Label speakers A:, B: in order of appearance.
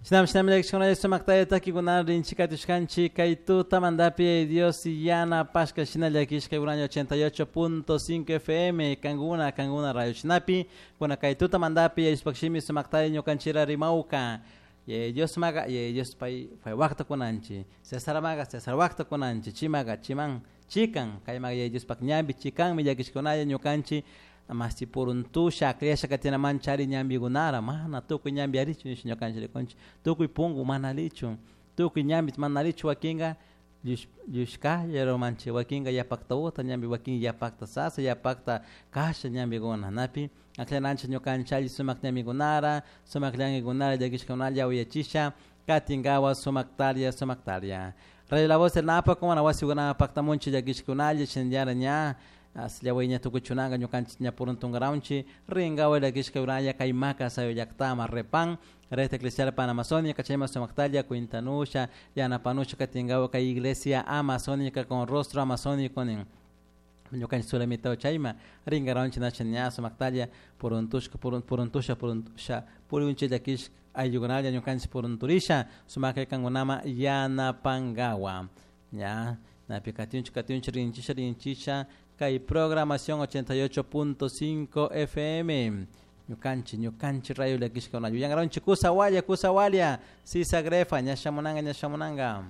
A: Shinam shinam llakishkunalla sumaktalla takikuna rinchik katushkanchik kay tutamantapi Dios yanapashka shina llakishka año 88.5 FM kankuna kankuna radio shinapi kuna kay tutamantapi Diospaj shimi sumaktalla ñukanchira rimawka. Dios maga Dios pay pay wakta kunanchi Cesar maga Cesar wakta kunanchi chimaga chiman chikan kay maga Diospaj ñambi chikanmi llakishkunalla ñukanchik masti puruntusha akllasha katinaman chari ñambikunara mana tukuy ñambi arichu nisha ñukanchik rikunchik tukuy punku mana alichu tukuy ñambi mana alichu wakinka llushkalla rumanchik wakinka yapakta uta ñambi wakin yapakta sasa yapakta kasha ñambikuna napi aklananchik ñukanchik alli sumak ñambikunara sumak llankikunara llakishkunalla uyachisha katinkawa sumaktaria sumaktaria. Radio La Voz del Napo kumana wasikunama paktamunchik llakishkunalla shinallara ña asllawayña tukuchunanka ñukanchik ña puruntunkaraunchik rinkawa llakishka uraya kay Maca sayo llaktama repan Red Eclesial Panamazónica chayma sumaktalla cuintanusha yanapanusha katinkawa kay iglesia amazónica con rostro amazónico nin ñukanchik sulamita chayma rinkaraunchik nacha ña sumaktalla puruntushka puruntusha puruntusha purunchik llakishka ayllukunalla ñukanchik purunturisha sumaklla kankunama yanapankawa ña napi katinchik katinchik rinchisha rinchisha kay programación 88.5 FM ñukanchik ñukanchik rayo llakishka yuyankaranchik kusa walla kusa walla sisa grefa ña shamunanka ña shamunanka.